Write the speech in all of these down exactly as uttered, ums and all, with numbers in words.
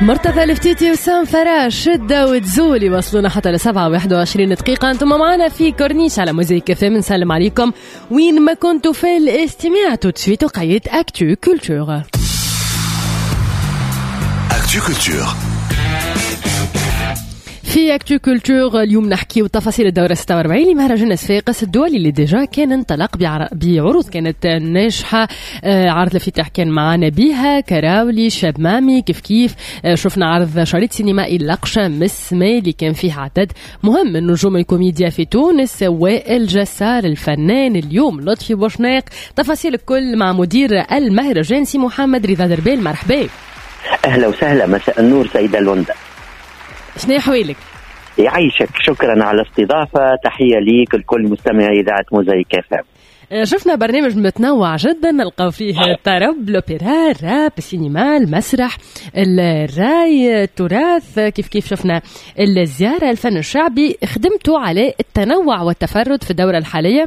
مرتضى الفتيتي وسام فراش شدة وتزول يوصلونا حتى لسبعة وواحد وعشرين دقيقة. أنتم معنا في كورنيش على موزايك إف إم. نسلم عليكم وين ما كنتوا في الاستماع. tout de suite وقيت Actu Culture. Actu Culture. في Actu Culture اليوم نحكيو تفاصيل الدورة ستة وأربعين لمهرجان صفاقس الدولي اللي déjà كان انطلق بعروض كانت ناجحة. عرض الافتتاح كان معنا بها كراولي شاب مامي كيف كيف. شفنا عرض شريط سينمائي لقشة مسمى اللي كان فيه عدد مهم من نجوم الكوميديا في تونس، وائل جسار الفنان، اليوم لطفي بوشناق. تفاصيل الكل مع مدير المهرجان سي محمد رضا دربال. مرحبا. أهلا وسهلا، مساء النور سيدة لوندا. شنو حوالك؟ يعيشك، شكرا على الاستضافة، تحية ليك لكل مستمعي إذاعة موزايك إف إم. شفنا برنامج متنوع جدا، نلقاو فيه الطرب، الأوبرا، الراب، السينما، المسرح، الراي، التراث، كيف كيف شفنا الزيارة، الفن الشعبي. خدمتوا على التنوع والتفرد في الدورة الحالية؟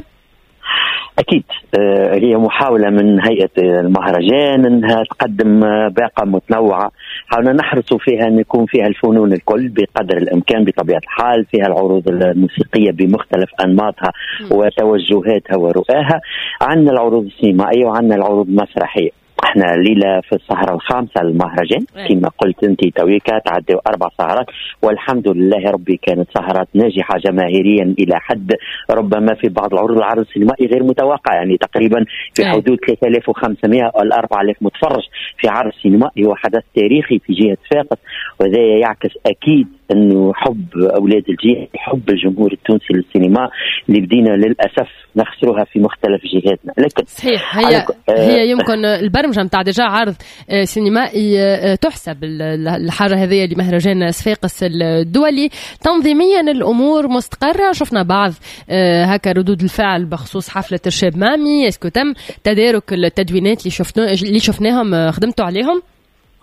أكيد هي محاولة من هيئة المهرجان أنها تقدم باقة متنوعة، حاولنا نحرص فيها أن يكون فيها الفنون الكل بقدر الإمكان بطبيعة الحال، فيها العروض الموسيقية بمختلف أنماطها وتوجهاتها ورؤاها، عندنا العروض السينمائية وعندنا العروض المسرحية. احنا ليلة في السهرة الخامسة للمهرجان كما قلت انت تويكا، تعدوا اربع سهرات والحمد لله ربي كانت سهرات ناجحة جماهيريا الى حد ربما في بعض العروض العرض السينمائي غير متوقع، يعني تقريبا في حدود ثلاثة آلاف وخمسمائة او أربعة آلاف متفرج في عرض سينمائي، هو حدث تاريخي في جهة صفاقس، وهذا يعكس اكيد انه حب اولاد الجهة، حب الجمهور التونسي للسينما اللي بدينا للاسف نخسرها في مختلف جهاتنا. لكن صحيح هي هي يمكن البرمجة نتاع déjà عرض سينمائي تحسب الحاجة هذه لمهرجان صفاقس الدولي. تنظيميا الامور مستقره، شفنا بعض هكا ردود الفعل بخصوص حفلة الشاب مامي. est-ce que تم تدارك التدوينات اللي شفنا اللي شفناهم خدمتوا عليهم؟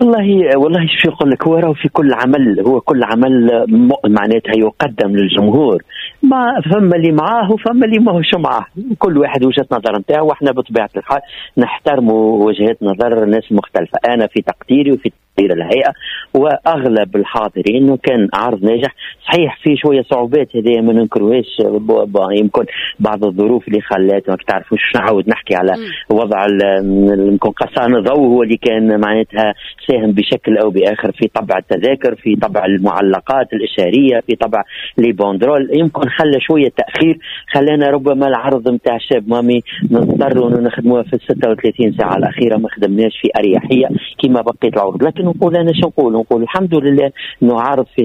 والله والله شو يقول لك، هو راهو في كل عمل، هو كل عمل معناتها يقدم للجمهور، ما فما اللي معاه وفما اللي ماهوش معاه، كل واحد وجهة نظر نتاعو، واحنا بطبيعة الحال نحترموا وجهات نظر الناس المختلفة. أنا في تقديري وفي تقدير الهيئة وأغلب الحاضرين إنه كان عرض ناجح، صحيح في شوية صعوبات هذه ما ننكروهاش، يمكن بعض الظروف اللي خلات ما تعرفوش، نعاود نحكي على وضع يمكن قصان الضوء هو اللي كان معناتها ساهم بشكل أو بآخر في طبع التذاكر، في طبع المعلقات الإشارية، في طبع les banderoles، يمكن خلى شوية تأخير، خلانا ربما العرض نتاع الشاب مامي نضطروا إنه نخدموها في ستة وثلاثين ساعة الأخيرة، ما خدمناش في أريحية كما بقية العروض. لكن نقول أنا شو نقول، نقول الحمد لله إنه عرض في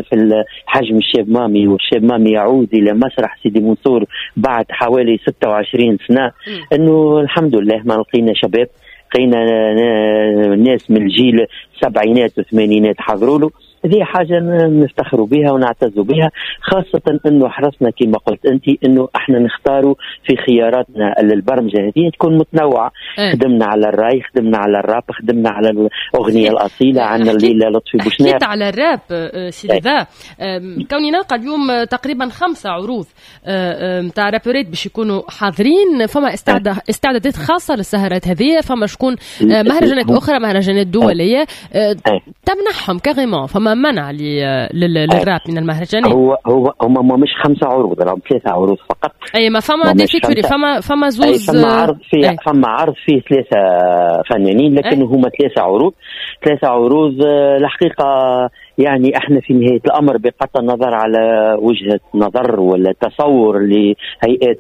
في الحجم الشاب مامي، والشاب مامي يعود إلى مسرح سيدي منصور بعد حوالي ستة وعشرين سنة، إنه الحمد لله ما لقينا شباب، لقينا ناس من الجيل السبعينات والثمانينات حضروا له. هذه حاجة نفتخروا بها ونعتزوا بها، خاصة أنه حرصنا كما قلت أنت أنه احنا نختاروا في خياراتنا للبرمجة هذه تكون متنوعة. أه. خدمنا على الراي، خدمنا على الراب، خدمنا على الأغنية الأصيلة، عندنا الليلة لطفي بوشناق. حكيت على الراب سيدي ذا، كوني نلقى اليوم تقريبا خمسة عروض نتاع رابورات باش يكونوا حاضرين، فما استعدادات خاصة للسهرات هذه، فما شكون مهرجانات أخرى، مهرجانات دولية تمنحهم carrément، فما منع للراب من المهرجانات. هو هو هما مش خمسة عروض، راهم ثلاثة عروض فقط. اي ما فما des featuring، فما فما زوز، فما عرض فيه فما عرض فيه ثلاثة فنانين، لكن هما ثلاثة عروض، ثلاثة عروض الحقيقة. يعني احنا في نهاية الأمر بقطع النظر على وجهة نظر ولا تصور لهيئات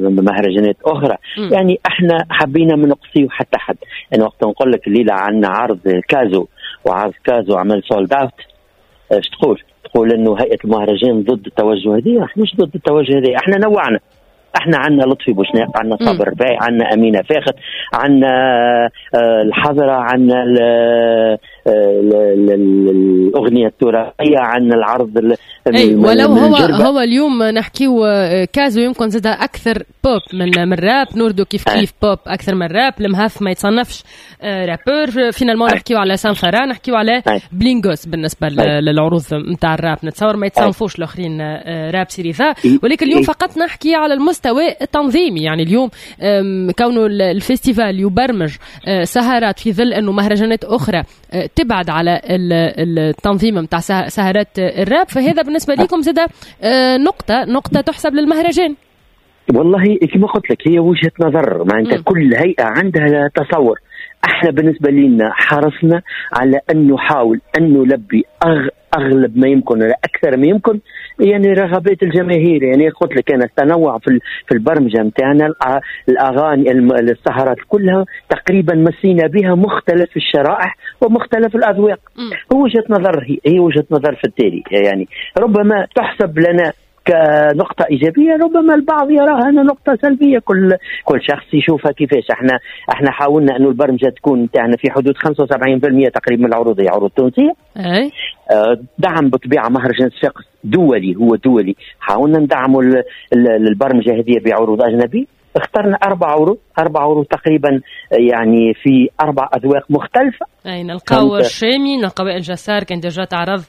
مهرجانات أخرى، م. يعني احنا حبينا ما نقصيو حتى حد. أنا وقت نقول لك الليلة عندنا عرض كازو، وعرض كازو عمل sold out، ايش تقول؟ تقول انه هيئة المهرجان ضد التوجه هذه؟ احنا مش ضد التوجه هذه، احنا نوعنا، احنا عندنا لطفي بوشناق، عندنا صابر رباعي، عندنا امينه فاخت، عندنا الحضرة، عندنا الاغنية التراثية، عندنا العرض. اي ولو هو هو اليوم نحكيو كازو يمكن زاد اكثر بوب من من راب، نوردو كيف كيف بوب اكثر من راب، المهف ما يتصنفش rappeur. finalement نحكيو على سانفارا، نحكيو على بلينغوس بالنسبة للعروض نتاع الراب، نتصور ما يتصنفوش الاخرين راب سيريفا. ولكن اليوم فقط نحكي على المستوى المستوى التنظيمي، يعني اليوم كونه ال festival يبرمج آه، سهرات في ظل انه مهرجانات اخرى آه، تبعد على التنظيم نتاع سهرات الراب، فهذا بالنسبة لكم زاد آه، نقطه نقطه تحسب للمهرجان. والله كما قلت لك، هي وجهه نظر، معناتها كل هيئة عندها تصور. احنا بالنسبة لنا حرصنا على ان نحاول ان نلبي أغ اغلب ما يمكن ولا اكثر ما يمكن يعني رغبات الجماهير. يعني قلت لك انا التنوع في في البرمجة نتاعنا، الاغاني، السهرات كلها تقريبا مسينا بها مختلف الشرائح ومختلف الاذواق. هو وجهه نظر، هي, هي وجهه نظر في التالي، يعني ربما تحسب لنا كنقطة إيجابية، ربما البعض يراها أنها نقطة سلبية. كل كل شخص يشوفها كيفاش. احنا احنا حاولنا أنه البرمجة تكون تاعنا في حدود خمسة وسبعين في المية تقريبا من العروض هي عروض تونسية. أي. آه، دعم بطبيعة مهرجان صفاقس دولي، هو دولي، حاولنا ندعموا البرمجة هذه بعروض أجنبية. اخترنا اربع عروض، اربع عروض تقريبا، يعني في اربع اذواق مختلفه. اي، نلقاو الشامي، نلقاو الجسار كان déjà تعرض.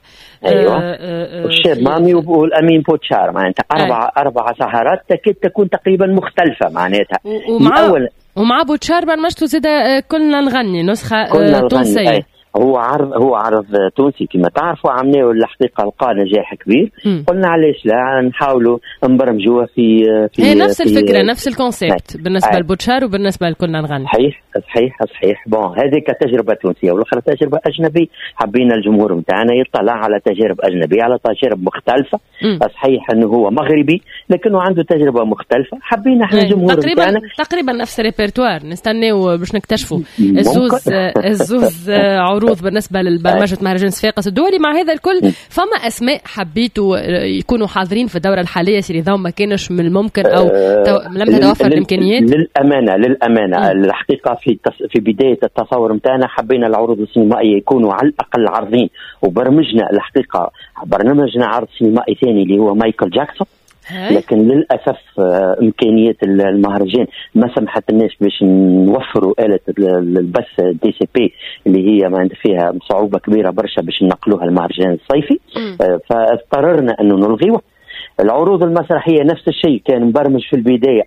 ايوه، آه آه الشاب مامي والامين بوتشار، معناتها اربع اربع سهرات تكاد تكون تقريبا مختلفة معناتها. ومع أول ومع بوتشار برمجتو زاد آه، كلنا نغني، نسخه كلنا تونسيه. هو عرض هو عرض تونسي كما تعرفوا، عملناه، الحقيقة لقى نجاح كبير. مم. قلنا علاش لا نحاولوا نبرمجوه في في هي نفس في الفكره، نفس ال concept بالنسبة لبوتشار وبالنسبة لكلنا نغني. صحيح صحيح صحيح bon هذه كتجربة تونسيه، والاخرى تجربه اجنبيه. حبينا الجمهور نتاعنا يطلع على تجارب اجنبيه، على تجارب مختلفه. مم. صحيح انه هو مغربي لكنه عنده تجربه مختلفه، حبينا احنا الجمهور تقريبا نتاعنا تقريبا نفس الريpertoire. نستناو باش نكتشفوا الزوز الزوز عروض بالنسبة للبرمجه مهرجان صفاقس الدولي. مع هذا الكل، فما اسماء حبيتوا يكونوا حاضرين في الدورة الحاليه، سي رضا، ما كانش من الممكن او آه لم تتوفر الامكانيات؟ للامانه للامانه الحقيقة في في بداية التصور نتاعنا حبينا العروض السينمائية يكونوا على الاقل عرضين، وبرمجنا الحقيقة برنامجنا عرض سينمائي ثاني اللي هو مايكل جاكسون، لكن للاسف آه، امكانيات المهرجان ما سمحت لناش باش نوفروا اله البث DCP اللي هي ما فيها صعوبة كبيرة برشا باش نقلوها المهرجان الصيفي، آه، فاضطررنا انه نلغيوه. العروض المسرحية نفس الشيء، كان مبرمج في البداية.